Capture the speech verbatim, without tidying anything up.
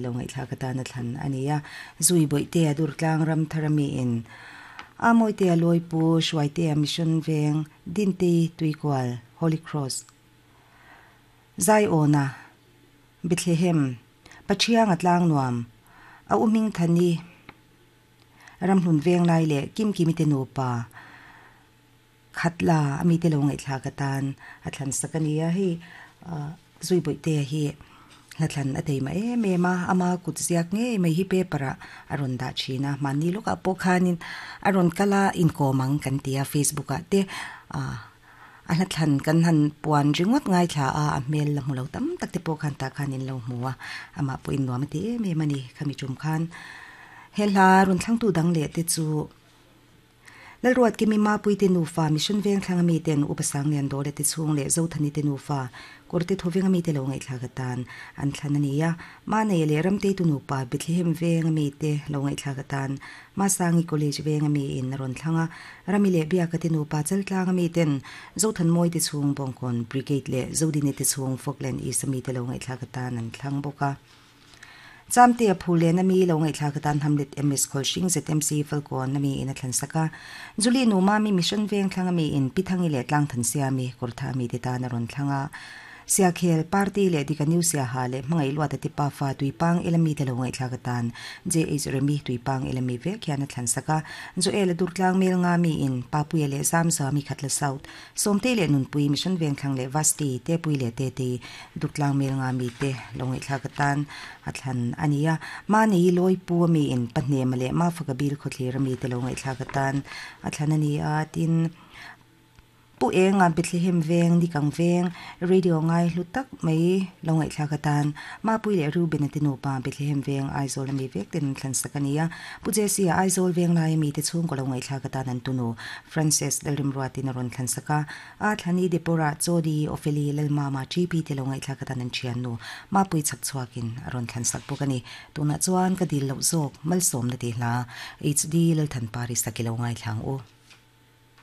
Lo ngaihthlak atana thlan a ni a. Zui Bawihtea Durtlang Ramthar ami in a Mawitea Lawipu Hruaitea Mission Veng Dintei Tuikual Holy Cross Zaiawna Bethlehem Pathianga Tlang Nuam a u Hmingthani Ramhlun Veng Lai leh Kimkimi te nupa Khatla ami te lo ngaihthlak atan a thlan sak a ni a. Hei Zui Bawihtea hi hla thlan a teima em em a, ama kut ziak ngei mai hi paper ah a rawn dah thin a, mahni lawkah pawh khanin a rawn kal a inkawm ang kan ti a, Facebook ah te ah a hla thlan kan han puan ringawt ngaithla a, a hmel la hmu lo tam tak te pawh khan tah khan in lo hmu a, amah pawh in nuam a ti em em a ni. Khami tum khan he hla rawn thlangtu dang leh te chu Lalruat Kimi Mapui te nufa Mission Veng thlang ami ten Upa Sanglian Dawla te chhung leh Zothani te nufa Kawrte Thawveng ami te lo ngaihthlak atan an thlan a ni a. Manei leh Ramteitu nupa Bethlehem Veng ami te lo ngaihthlak atan Masangi College Veng ami in a rawn thlang a. Rami leh Biaka te nupa Chaltlang ami ten Zothanmawi te chhung Bawngkawn Brigade leh Zodini te chhung Falkland East ami te lo ngaihthlak atan an thlang bawk a. Chamte a Phulen ami lo ngaihthlak atan Hamlet M S Khawlhring Z M C Falkawn ami in a thlan sak a. Julie Numa mi Mission Veng thlang ami in Pithangi leh Tlangthan Siami Kawrtha ami te tan a rawn thlang a. Siakhel Party leh Dika New Siaha leh Hmangaih Luata te pafa Tuipang Elami te lo ngaihthlak atan J H Remi Tuipang Elami vek hian a thlan sak a. Joel Durtlang Mel nga mi in Papuia leh Zamzami Khatla South Sawmte leh Nunpui Mission Veng thlang leh Vasti te Pui leh Te te Durtlang Mel nga mi te lo ngaihthlak atan a thlan a ni a. Mahni Lawipu ami in Pahnema leh Mafaka Bil khawthlir ami te lo ngaihthlak atan a thlan a ni a. Tin Pu Enga Bethlehem Veng Nikang Veng Radio ngai hlu tak mai lo ngaihthlak atan Mapui leh Reuben te nupa Bethlehem Veng Aizawl ami vek ten thlan sak a ni a. Pu Jesse a Aizawl Veng lai ami te chhung ko lo ngaihthlak atan an tunu Frances Lalrimruatin a rawn thlan sak a. A thlani Deborah Chodi Opheli Lalmama G P te lo ngaihthlak atan an thian nu Mapui chak chhuakin a rawn thlan sak bawk a ni. Tunah chuan ka dil loh zawk malsawm na ti hla H D Lalthan Paris a ki lo ngaithlang u.